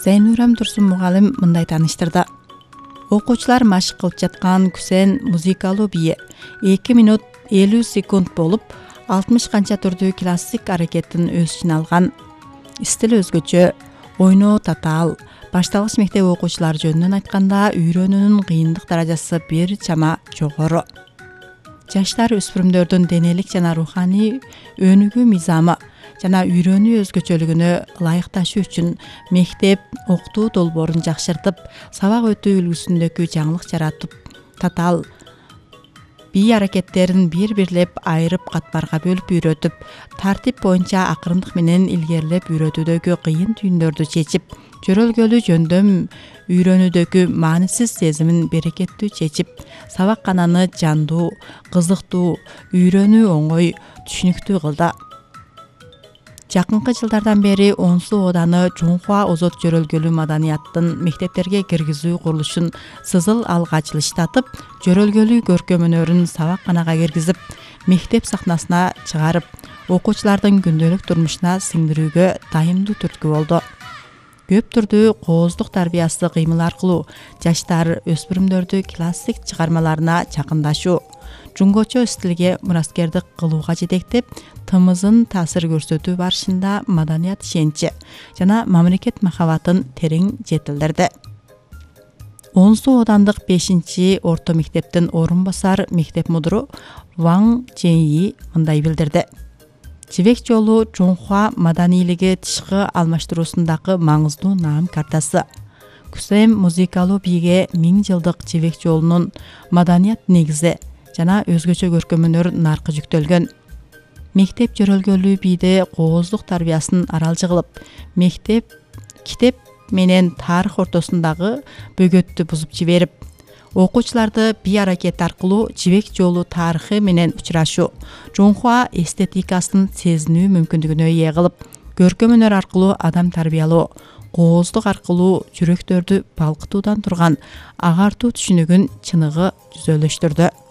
Зайнурам Турсун мугалим мындай тааныштырды. Окуучулар машык кылып жаткан күсен музыкалуу бийи 2 минут 50 секунд болуп, 60 канча түрдүү классик аракеттин өз ичине алган. Стил өзгөчө, ойноо татаал. Башталгыч мектеп окуучулары жөнүнөн айтканда, үйрөнүүнүн кыйындык даражасы бир чама жогору. Жаштар өспүрүмдөрдүн денелик жана руханий өнүгүү мыйзамы жана үйрөнүү өзгөчөлүгүнө ылайыкташуу үчүн мектеп окутуу долбоорун жакшыртып, сабак өтүү үлгүсүндөгү жаңылык жаратып, татаал бий аракеттерин бир-бирлеп айырып катмарга бөлүп үйрөтүп, тартип боюнча акырындык менен илгерилеп үйрөтүүдөгү кыйын түйүндөрдү чечип, жөрөлгөлүү жөндөм үйрөнүүдөгү маанисиз сезимин берекеттүү чечип, сабак кананы жандуу, кызыктуу, үйрөнүү оңой, түшүнүктүү кылды. Жакынкы жылдардан бери Онсу ооданы Чоңхуа озот жөрөлгөлүү маданияттын мектептерге киргизүү курулушун сызыл алга жылыштатып, жөрөлгөлүү көркөм өнөрүн сабак канага киргизип, мектеп сахнасына чыгарып, окуучулардын күндөлүк турмушуна сиңдирүүгө дайымдуу түрткү болду. Көп түрдүү кооздук тарбиясы кыймыл аркылуу жаштар өспүрүмдөрдү классик чыгармаларына жакындашуу, жунгочо стилге мураскердик кылууга жетектеп, тымызын таасир көрсөтүү барышында маданият ишеничи жана мамлекет махабатын терең жетилдирди. Онсу оодандык 5-орто мектептин орун басар мектеп мудуру Ваң Чэньи мындай билдирди. Жибек жолу Чоңхуа маданийлиги тышкы алмаштыруусундагы маңыздуу наам картасы. Күсем музыкалуу бийге 1000 жылдык жибек жолунун маданият негизи жана өзгөчө көркөм өнөр наркы жүктөлгөн. Мектеп жөрөлгөлүү бийде кооздук тарбиясын аралжы кылып, мектеп, китеп менен тарых ортосундагы бөгөттү бузуп жиберип, окуучуларды бий аракети аркылуу жибек жолу тарыхы менен учурашуу, Чоңхуа эстетикасын сезинүү мүмкүндүгүнө ээ кылып, көркөм өнөр аркылуу адам тарбиялоо, кооздук аркылуу жүрөктөрдү балкытуудан турган агартуу түшүнүгүн чыныгы жүзөлөштүрдү.